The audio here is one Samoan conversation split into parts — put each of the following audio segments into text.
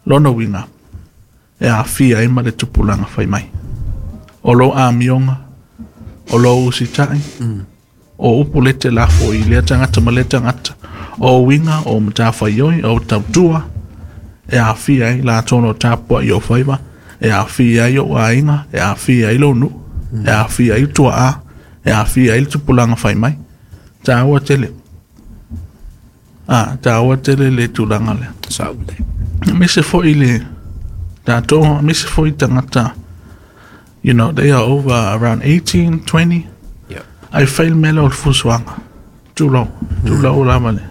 Lona uiga, e aafia ai ma le tupulaga fai mai. O lou amioga, o lou usitai, o upu lea e te lafo i lea tagata ma lea tagata, o uiga, o matafaioi, o tautua, e aafia ai latou o lo o tapuai i ou faiva, e aafia ai ou aiga, e aafia ai lou nuu, e aafia ai tuaa, e aafia ai le tupulaga fai mai. Taua tele. Taua tele le tulaga lea. Sao lelei. Aemaise foi le tatou, aemaise foi tagata, they are over around 18, 20. Ae fai le mea lea o le fusuaga. Tulou, tulou lava le.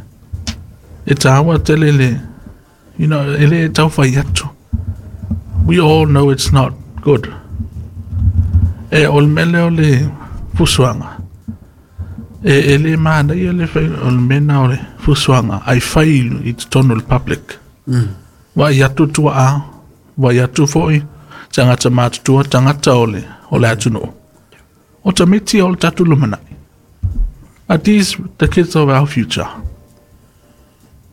E taua tele le, e le tau fai atu. We all know it's not good. E o le mea lea o le fusuaga. E le manaia le fai o le mea lena o le fusuaga, ae fai i totonu o le public. Vaai atu tuaa, vaai atu foi tagata matutua, tagata o le atunuu. O tamaiti o le tatou lumanai. Are these the kids of our future?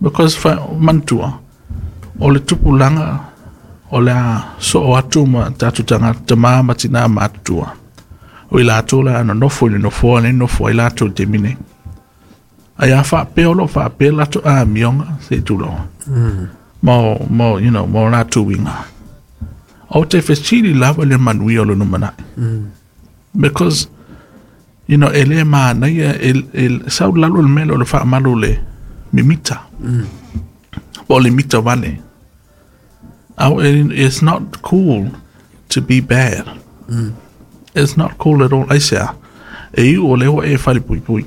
Because manatua, o le tupulaga o le a soo atu ma tatou tagata tama ma tina matutua. O i latou le a nonofo i le nofoa nei nofo ai latou i le taimi nei. Ae a faapea o lo o faapea latou amioga, se i tulou. Mo, mo latou uiga. Ou te fesili lava le manuia o le lumanai. Because, e le manaia, e sau lalo le mea lea o le faamalu le mimita. Po o le mita vale. It's not cool to be bad. It's not cool at all. Aisea, e iu o lea ua e falepuipui.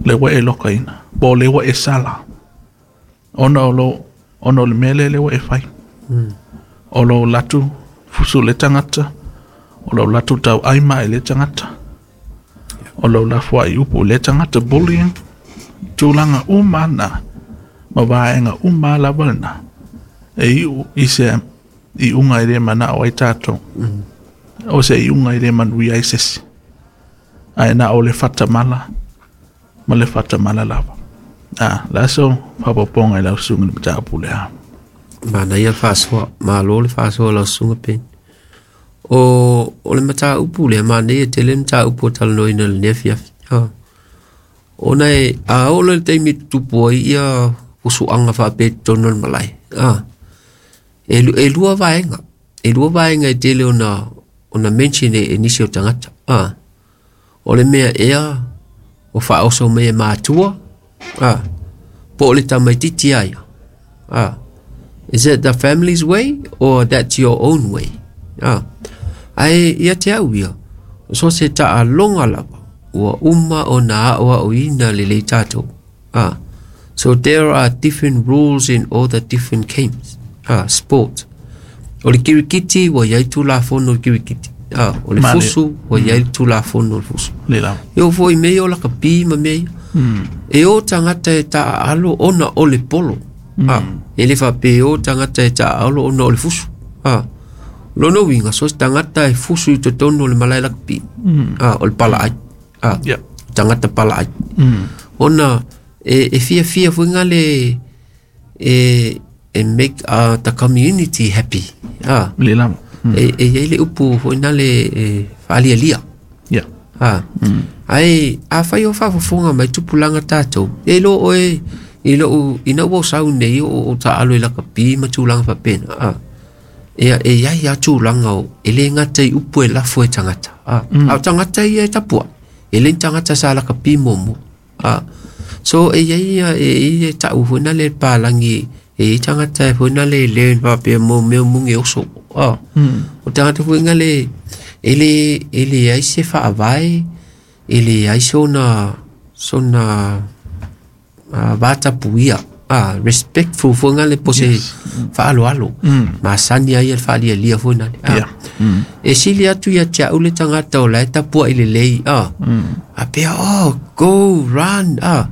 Le ua e lokaina. Po o le ua e sala. Ona o lo, ona o le mea lea ua e fai. O lo latu fusu le tagata. O lo latu tau aima e le tagata. O lo lafua i upu le tagata bullying. Tulaga uma na. Ma vaega uma lava lena. E iu i se i unga i le mana o ai tātou. O se i unga i le manuia ai sesi. Ae na o le fatamala ma le fatamala lava. La so faaopoopoga i lau susuga i le mataupu lea. Manaia le faasoa, malo le faasoa lau susuga Peni. O le mataupu lea, manaia tele le mataupu o talanoaina i lenei afiafi. Ha. Ona e a oo loa i le taimi e tutupu ai ia fusuaga faapea i totonu o le malae. Ha. E lua vaega. E lua vaega e tele ona mention e nisi o tagata. Ha. O le mea ea o faaoso mai e matua, ha, po o le tamaititi a ia. Ha. Is it the family's way or that's your own way? Ha. Ae ia te au ia, so se taaloga lava, ua uma ona aoaoina lelei tatou. Ha. So there are different rules in all the different games. Ha, sport. O le kirikiti, ua iai tulafono o le kirikiti. Ha, o le Male. fusu, ua iai le tulafono o le fusu. Le lava. E oo foi i mea ia o lakapi ma mea ia. E o tagata e taaalo ona o le polo. Ha, e le faapea e o tagata e taaalo ona o le fusu. Ha. Lona uiga, so se tagata e fusu i totonu o le malae lakapi. Ha, o le palaai. Ha, tagata palaai. Ona e fiafia foi ngā le e make the community happy. Ha. Le lava. E iai le upu foi nā le e faalialia. Ha. Ae a fai o faafofoga mai tupulaga tatou, e lo oe i lou ina ua sau nei o taalo i lakapi ma tulaga faapena. Ha. E iai a tulaga o e le gata i upu e lafo e tagata. Ha. A o tagata ia e tapua. E le ni tagata sa lakapi muamua. Ha. So e iai ia e i e tau foi nā le palagi e i tagata e foi nā le learn faapea mo mea mungi oso. Ha. O tagata foi ngā le e le ai se faavae, e le ai sona vatapuia. Respectful foi ngā le po se faaloalo. Masani ai le faalialia foi nā le. E sili atu ia te au le tagata o la e tapua i le lei. A pea, oh, go, run. A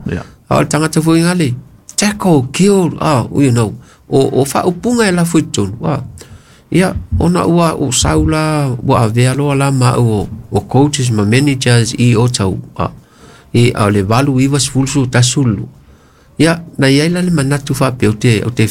o le tagata foi ngā le tackle, kill, you know. O faaupuga e lafo i totonu. Ia, ona ua o sau la, ua avea loa la ma o coaches ma managers i o tau. E a o le 8 9 10 11. Ia, na iai la le manatu faapea o te